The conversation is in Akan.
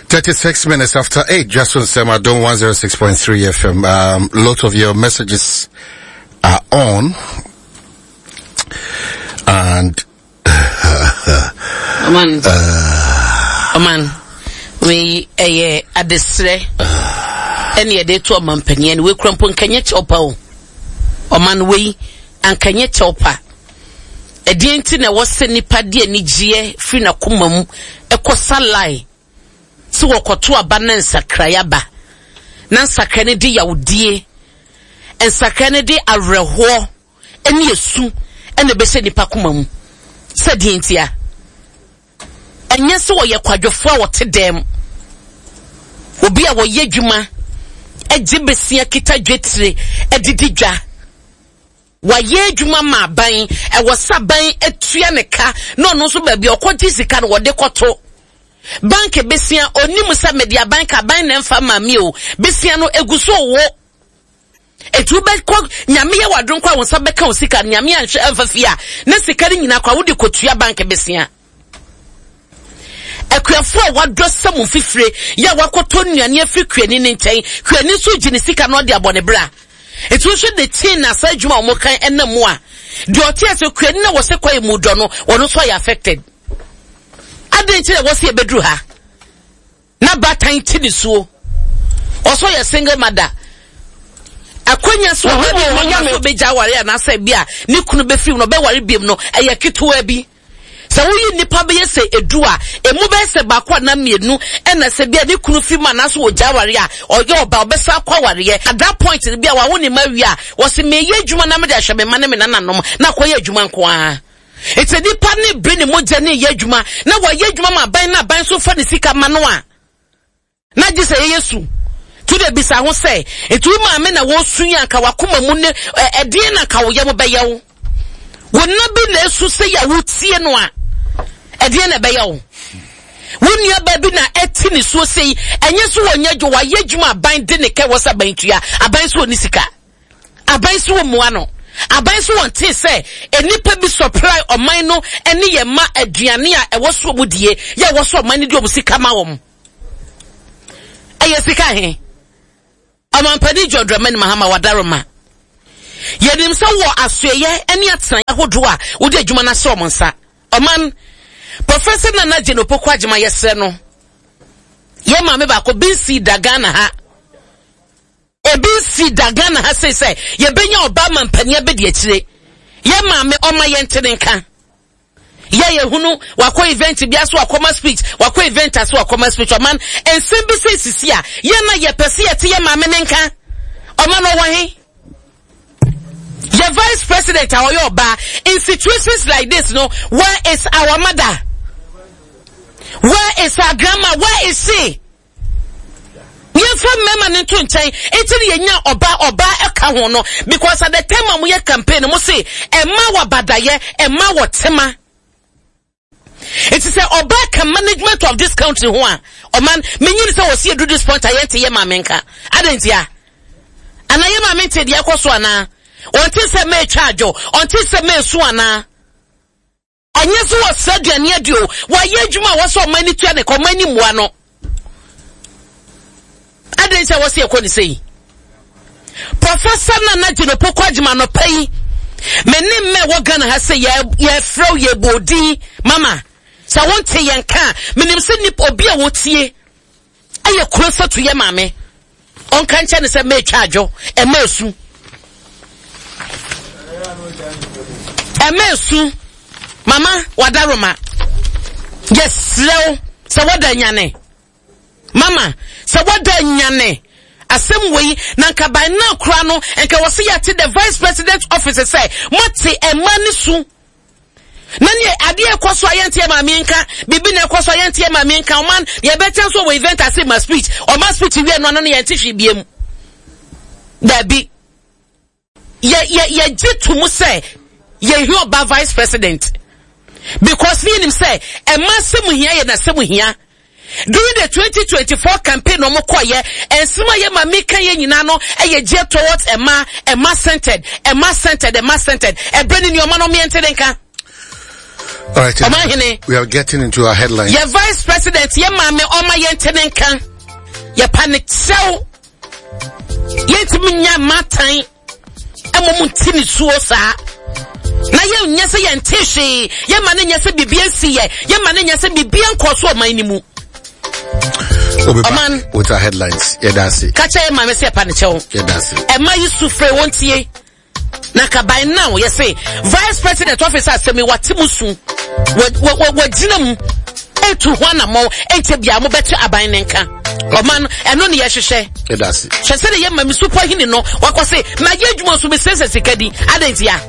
36 minutes after 8, just on Semadon 106.3 FM. Um, lot of your messages are on. And. Oman. Uh, Oman. Wei ɛyɛ adesrɛ ɛne yɛde to ɔmampanin no wei kura mpo nkanyɛ kyɛw pa o ɔman wei ankanyɛ kyɛw pa ɛdeɛ nti na ɛwɔ sɛ nipa de anigyeɛ firi n'akoma mu ɛkɔ salae sɛ wɔkɔto aba na nsakrae aba, na nsakrae no de yawdie, nsakrae no de awerɛhoɔ ne esu na ɛbɛhyɛ nipa koma mu. Sɛ deɛ ntia? Ɛnyɛ sɛ wɔyɛ kwadwofoɔ a wɔte dɛm, obi a wɔyɛ adwuma, gye besia kita dwetire de di dwa. Wayɛ adwuma ma aban, ɛwɔ sɛ aban tua ne ka na ɔno nso baabi a ɔkɔgye sika no wɔde kɔto. Bank besia, onim sɛ mede aban ka, aban na ɛmfa ma me o. Besia no egu so wo. Eti wobɛkɔ, nyame yɛ wadom kɔ a wo nsa bɛka wo sika no, nyame anhwɛ amfa fie a, na sika no nyinaa kɔ a wode kɔtua bank besia. Akuafo a wɔadɔ sɛ mo mfifire yɛ a wɔakɔtɔ nnuane afiri kuani no nkyɛn, kuani nso gye ne sika na ɔde abɔ ne bra. Eti wohwɛ the chain na saa adwuma a wɔkan ɛnam mu a, deɛ ɔte ase kuani na wɔsɛ kwae mu dɔ no, wɔn nso ayɛ affected. Adɛn nti na wɔsɛ yɛbɛduru ha? Na baatan te ne suo. Ɔsɛ ɔyɛ single mother. Akwanya sɛ ɔbɛ bi wɔ hɔ sɛ ɔbɛgya aware anaasɛ bi a ne kunu bɛfiri mu na ɔbɛware biom no ɛyɛ ketewa bi. Sɛ woyi nnipa bɛyɛ sɛ edu a, emu bɛyɛ sɛ baako anaa mmienu ɛna sɛ bi a ne kunu fi mu anaasɛ wɔgya aware a ɔyɛ ɔba ɔbɛsan akɔ awareɛ. At that point no bi a wawo ne mma awie a wɔse meyɛ adwuma na mede ahwɛ me mma ne me nananom na akɔyɛ adwuma nko ara. Enti nipa ne bere ne mogya ne yɛ adwuma na wɔyɛ adwuma ma aban na aban nso fa ne sika ma no a, na gye sɛ yɛyɛ su. To de bisa ho sɛ, enti wo maame na wɔresu yi anka wakoma mu ne ɛdeɛn na anka wo yam bɛyɛ wo? Wo nna bi na esu sɛ yɛ a wotie no a, ɛdeɛn na ɛbɛyɛ wo? Wo nuabaa bi na ɛte ne suo sei, ɛnyɛ so wɔnyɛ adwuma, wayɛ adwuma aban de ne kɛ wɔ sɛ aban tua, aban so ɔni sika. Aban so wɔmmua no. Aban so wɔntee sɛ nnipa bi supply ɔman no ne yɛn mma aduane a ɛwɔ so wɔn die, yɛ ɛwɔ so ɔman no de wɔn sika ma wɔn. Ɛyɛ sika he? Ɔmampanin John Dramani Mahama Wadaroma. Yɛnim sɛ wɔ asoɛyɛ ne atenaeɛ ahodoɔ a wode adwuma no ahyɛ wɔn nsa. Ɔman, Professor Nana Jane Opoku Agyemang yɛsrɛ no, yɛn maame baako bi nsii da Ghana ha. Ebi nsi da Ghana ha sei sɛ yɛbɛnya ɔbaa mampanin abɛdi akyire. Yɛ maame ɔma yɛnte ne nka. Yɛ yɛhunu wakɔ event bi ase wakɔma speech, wakɔ event ase wakɔma speech. Ɔman nsɛm bi sɛ sisi a yɛn na yɛpɛ sɛ yɛte yɛ maame ne nka. Ɔman ɔwɔ he? Yɛ vice president a ɔyɛ ɔbaa in situations like this no where is our mother? Where is our grandma? Where is she? Yɛmfa mmarima no nto nkyɛn nti na yɛnya ɔbaa ɔbaa ɛka ho no because at the time a moyɛ campaign no mo se ɛma wɔ abadayɛ ɛma wɔ tema nti sɛ ɔbaa ka management of this country ho a ɔman menyini sɛ wɔsi edu this point a yɛnte yɛ maame nka adɛn nti a anaa yɛ maame nte deɛ ɛkɔ so anaa ɔnte sɛ mɛtwa adwo ɔnte sɛ mɛsu anaa Ɛnyɛ sɛ wɔsrɛ aduane adi o, wɔayɛ adwuma a wɔsɛ ɔman no tua ne ka, ɔman no mmua no. Adɛn nti a wɔsɛ yɛkɔ ne sei? Professor Nana Jane Opoku Agyemang anɔpa yi, me ne mma ɛwɔ Ghana ha sɛ yɛfrɛ wo yɛbɔ odin mama sɛ wonte yɛn ka a, menim sɛ nipa obi a wɔtie ɛyɛ kuro sɛ to yɛ maame ɔnka nkyɛ ne sɛ mɛtwa adwo ɛma esu ɛma esu mama wadaroma yɛsrɛ wo sɛ wɔda nyane mama sɛ wɔda nyane asɛm wei na nka by now koraa no nka wɔsi yɛate the vice president office sɛ moate ɛma ne su Na neɛ adeɛ ɛkɔ so a yɛnteɛ maame nka, biribi na ɛkɔ so a yɛnteɛ maame nka, ɔman yɛbɛkyɛ nso wɔ event ase ma speech, ɔma speech wie no ano no yɛnte hwee biem. Dabi. Yɛ yɛ yɛgye to mu sɛ yɛhia ɔba vice president because ne yɛnim sɛ ɛma sɛ mu hia yɛ na sɛ mu hia. During the 2024 campaign na ɔmo kɔɔyɛ, nsɛm a yɛ maame ka yɛ nyinaa no ɛyɛ geared towards ɛma, ɛma centered, ɛma centered, ɛma centered. Ɛbrɛ ne nneɛma no ɔmo yɛn te ne nka. All right. Ɔmanhene. We are getting into our headlines. Yɛ vice president yɛ maame ɔma yɛn te ne nka. Yɛ pa ne kyɛw. Yɛntumi nya matan ɛmɔ mu nti ne suo saa. Na yɛn nyɛ sɛ yɛn te hwee. Yɛn ma ne nyɛ sɛ biribi nsi yɛ. Yɛn ma ne nyɛ sɛ biribi nkɔ so ɔman ne mu. We'll be back with our headlines. Yeah, that's it. Kakyɛ yɛ maame sɛ yɛ pa ne kyɛw. Yeah, that's it. Ɛma yi su fere wɔn tie. Na ka by now yɛse vice president office asɛm yi wate mu su wagyina mu etu ho anammɔn ɛnkyɛ bia mobɛte aban ne nka ɔman no ɛno ne yɛhwehwɛ hwɛ sɛ de yɛ ma me supɔ hene no wakɔ se mayɛ adwuma so mesɛsɛ sika di adɛn ntia?